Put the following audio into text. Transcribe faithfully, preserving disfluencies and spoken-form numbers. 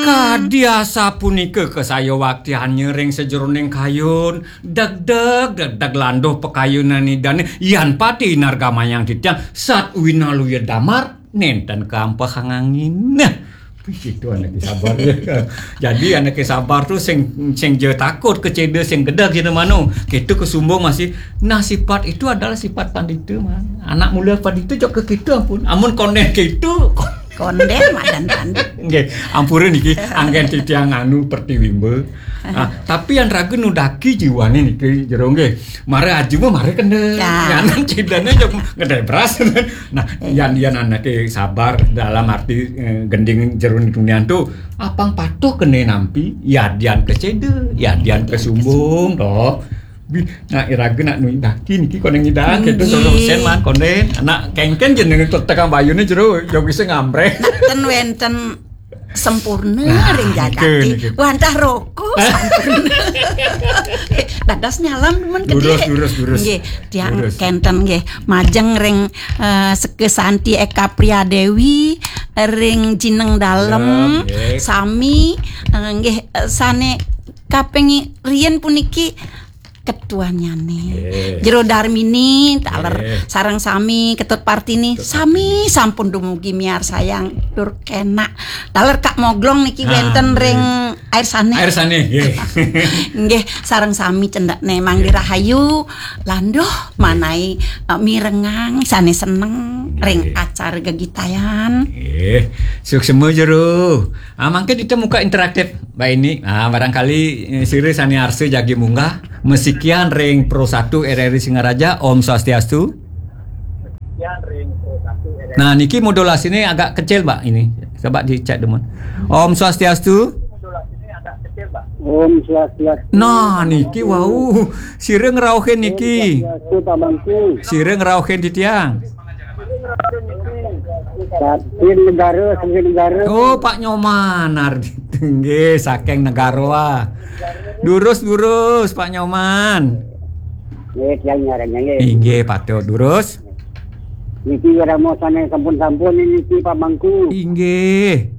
Kadi asapunika kasayawaktiannya ring sajeroning kayun, degdeg, degdeg landuh pakayunan Idane, yan pati nargamayang titiang, sat winaluya damar, nenten kampehang angin. Nah, itu anake sabar. Jadi anake sabar tu sing, sing ja takut keceda, sing gedeg kita mano. Kita kesumbung masih. Nah, sifat itu adalah sifat pandita, man. Anak mula pandita juga ke kita, ampun. Amun konden kita, Konden madan tanduk. Nggih, ampura niki, anggen titiang anu pertiwimba. Ah, tapi yang raga nudaki jiwane niki jero nggih. Mara aju mah mara kena. Ya. Nganan cidane jok ngedai beras. Nah, eh, yan, yan anake sabar dalam arti, eh, gending jero dunian tu apang patuh kena nampi, yadian keceda, yadian kesumbung, toh. Bi-, nah, iraga nak nui daki niki konden nyidang, kita suruh sen man konden. Nak kengken jeneng tetekang bayune jero, jok bisa ngampreh. Ten wenten sempurna. Ah, ring jagate. Niki, niki. Wantah roko sempurna. Dados nyalam demen gedhe. Durus, durus, durus. Nggih, tiang durus. Kenten nggih. Majeng ring, eh, Seka Santi Eka Priadewi, ring Jineng Dalem, dalem, nggih. Sami, eh, nggih, eh, sane kaping riyen puniki ketuanyane. Nggih. Jero Darmini, taler nggih. Sareng sami Ketut Partini, ketut sami partini. Sampun dumugi miarsayang tur kenak. Taler Kak Moglong niki ah, wenten nggih. Ring air sane. Air sane, nggih. Nggih, sareng sami cendekne manggi nggih. Rahayu, landuh manai, eh, mirengang sane seneng nggih. Ring acara gegitayan. Nggih. Suksema jero. Ah, mangke kita muka interaktif, Mbak Ini. Ah, barangkali, eh, sira sane arsa jagi munggah, masikian ring Pro satu R R I Singaraja, Om Swastiastu. Nah, niki modulasine agak kecil, Mbak, ini. Coba dicek dulu. Om Swastiastu. Om Swastiastu. Nah, niki wau. Sira ngrauhin niki. Om Swastiastu, Pak Mangku. Sira ngrauhin titiang. Saking negara, saking negara. Oh, Pak Nyoman Ardito. Nggih, saking negara. Durus, durus, Pak Nyoman. Nggih, tiang nyarannya, nggih. Inggih, patut. Durus. Niki wirama sane sampun-sampun niki, Pak Mangku. Inggih.